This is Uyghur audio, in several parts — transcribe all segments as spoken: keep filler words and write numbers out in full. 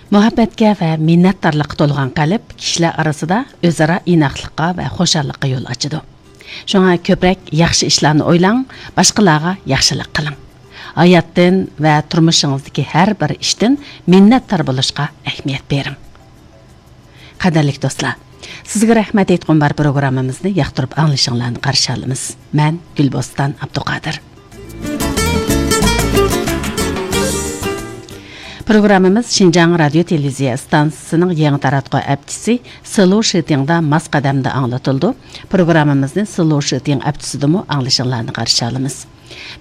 مۇھەببەتكە ۋە مىننەتدارلىققا تولغان قەلب كىشىلەر ئارىسىدا ئۆزئارا ئىناقلىققا ۋە خۇشاللىققا يول ئاچىدۇ. شۇڭا كۆپرەك ياخشى ئىشلارنى ئويلاڭ، باشقىلارغا ياخشىلىق قىلىڭ. ھاياتتىن ۋە تۇرمۇشىڭىزدىكى ھەر بىر ئىشتىن مىننەتدار بولۇشقا ئەھمىيەت بېرىڭ. قەدىرلىك دوستلار، سىزگە رەھمەت ئېيتقۇم بار پروگراممىمىزنى ياقتۇرۇپ ئاڭلىشىڭلارنى قارشى ئالىمىز. مەن گۈلبوستان ئابدۇقادىر. پروگراممىمىز شىنجاڭ رادىيو تېلېۋىزىيە ئىستانسىسىنىڭ يېڭى تاراتقۇ ئەپچىسى سىلۇ شىتىڭدا ماس قەدەمدە ئاڭلىتىلىدۇ. پروگراممىمىزنى سىلۇ شىتىڭ ئەپچىسىدىمۇ ئاڭلىشىڭلارنى قارشى ئالىمىز.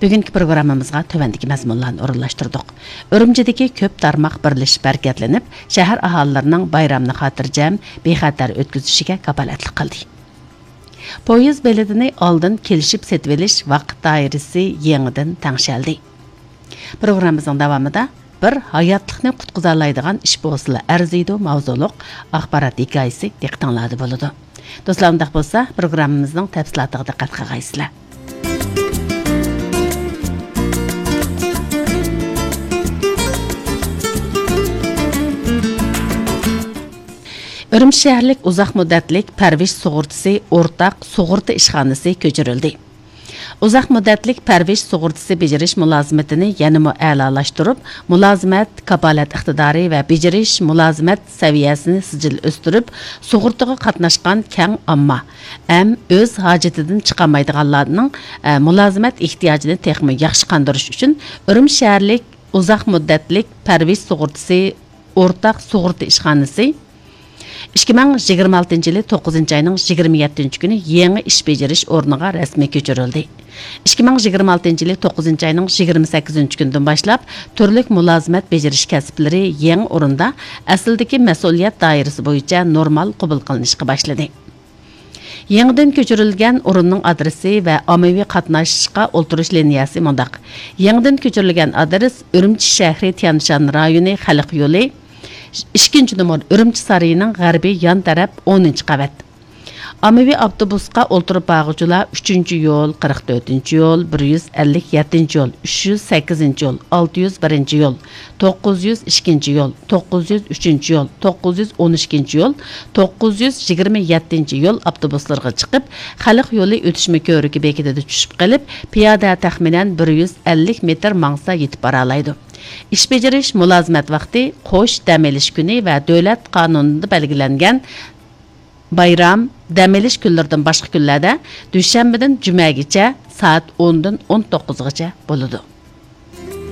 بۈگۈنكى پروگراممىمىزغا تۆۋەندىكى مەزمۇنلارنى ئورۇنلاشتۇردۇق. ئۈرۈمچىدىكى كۆپ تارماق بىرلىشىپ ھەرىكەتلىنىپ، شەھەر ئاھالىلىرىنىڭ بايرامنى خاتىرجەم، بىخەتەر ئۆتكۈزۈشىگە كاپالەتلىك قىلدى. پويىز بېلىتىنى ئالدىن كېلىشىپ سېتىۋېلىش ۋاقىت دائىرىسى يېڭىدىن تەڭشەلدى. پروگراممىمىزنىڭ داۋامىدا بىر ھاياتلىقنى قۇتقۇزالايدىغان ئىش بولسىلا ئەرزىيدۇ ماۋزۇلۇق ئاخبارات ھېكايىسى دىققىتىڭلاردا بولىدۇ. دوستلار، ئۇنداق بولسا، پروگراممىمىزنىڭ تەپسىلاتىغا دىققەت قىلغايسىلەر. ئۈرۈمچى شەھەرلىك ئۇزاق مۇددەتلىك پەرۋىش سۇغۇرتىسى ئورتاق سۇغۇرتا ئىشخانىسى كۆچۈرۈلدى. ئۇزاق مۇددەتلىك پەرۋىش سۇغۇرتىسى بېجىرىش مۇلازىمىتىنى يەنىمۇ ئەلالاشتۇرۇپ، مۇلازىمەت، كاپالەت ئىقتىدارى ۋە بېجىرىش مۇلازىمەت سەۋىيەسىنى سىجىل ئۆستۈرۈپ، سۇغۇرتىغا قاتناشقان كەڭ ئامما ھەم ئۆز ھاجىتىدىن چىقالمايدىغانلارنىڭ، ئە، مۇلازىمەت ئېھتىياجىنى تېخىمۇ ياخشى قاندۇرۇش ئۈچۈن ئۈرۈمچى شەھەرلىك ئۇزاق مۇددەتلىك پەرۋىش سۇغۇرتىسى ئورتاق سۇغۇرتا ئىشخانىسى ئىككى مىڭ يىگىرمە ئالتىنچى يىلى توققۇزىنچى ئاينىڭ يىگىرمە يەتتىنچى كۈنى يېڭى ئىش بېجىرىش ئورنىغا رەسمىي كۆچۈرۈلدى. ئىككى مىڭ يىگىرمە ئالتىنچى يىلى توققۇزىنچى ئاينىڭ يىگىرمە سەككىزىنچى كۈنىدىن باشلاپ، تۈرلۈك مۇلازىمەت بېجىرىش كەسىپلىرى يېڭى ئورۇندا ئەسلىدىكى مەسئۇلىيەت دائىرىسى بويىچە نورمال قوبۇل قىلىنىشقا باشلىدى. يېڭىدىن كۆچۈرۈلگەن ئورۇننىڭ ئادرېسى ۋە ئاممىۋى قاتناشقا ئولتۇرۇش لىنىيەسى مۇنداق: يېڭىدىن كۆچۈرۈلگەن ئادرېس ئۈرۈمچى شەھىرى تيەنشان رايونى خەلق يولى، ئىككىنچى نومۇر ئۈرۈمچى سارىيىنىڭ غەربىي يان تەرەپ ئونىنچى قەۋەت. ئاممىۋى ئاپتوبۇسقا ئولتۇرۇپ بارغۇچىلار ئۈچىنچى يول، قىرىق تۆتىنچى يول، بىر يۈز ئەللىك يەتتىنچى يول، ئۈچ يۈز سەككىزىنچى يول، ئالتە يۈز بىرىنچى يول، توققۇز يۈز ئىككىنچى يول، توققۇز يۈز ئۈچىنچى يول، توققۇز يۈز ئون ئىككىنچى يول، توققۇز يۈز يىگىرمە يەتتىنچى يول ئاپتوبۇسلىرىغا چىقىپ، خەلق يولى ئۆتۈشمە كۆۋرۈكى بېكىتىدە چۈشۈپ قېلىپ، پىيادە تەخمىنەن بىر يۈز ئەللىك مېتىر ماڭسا يېتىپ بارالايدۇ. ئىش بېجىرىش مۇلازىمەت ۋاقتى قوش دەم ئېلىش كۈنى ۋە دۆلەت قانۇنىدا بەلگىلەنگەن بايرام، دەم ئېلىش كۈنلىرىدىن باشقا كۈنلەردە دۈشەنبىدىن جۈمەگىچە سائەت ئوندىن ئون توققۇزغىچە بولىدۇ.